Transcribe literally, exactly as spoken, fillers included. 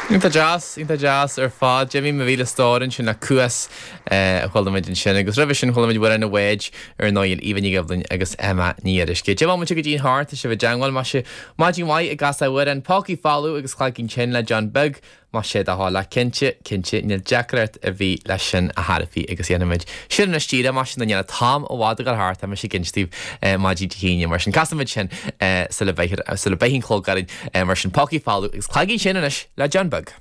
Iontach deas, iontach deas ar fad. Jimmy mo mhíle stór ansin le Cuas a chuala muid ansin agus roimhe sin chuala muid Amhrán an Bháid ar ndóigh Aoibhe Ní Dhoibhlin agus Emma Ní Fhíoruisce. Deich mbomaite go dtí an hocht tá sibh i dteagmháil más ea maidin mhaith ag casadh amhrán Pócaí Folamh agus Cloigín Tinn le John Beag más sé do thoil cinnte cinnte níl deacracht ar bith leis sin a thairfí agus dhéanfaimid sin anois díreach mar sin an dhéanamh t-am i bhfad a dhul thart tá mise ag inse daoibh maidin Dé hAoine mar sin casfaimid sin sula mbeidh sula mbeidh an clog orainn mar sin Pócaí Folamh agus Cloigín Tinn anois le John Beag.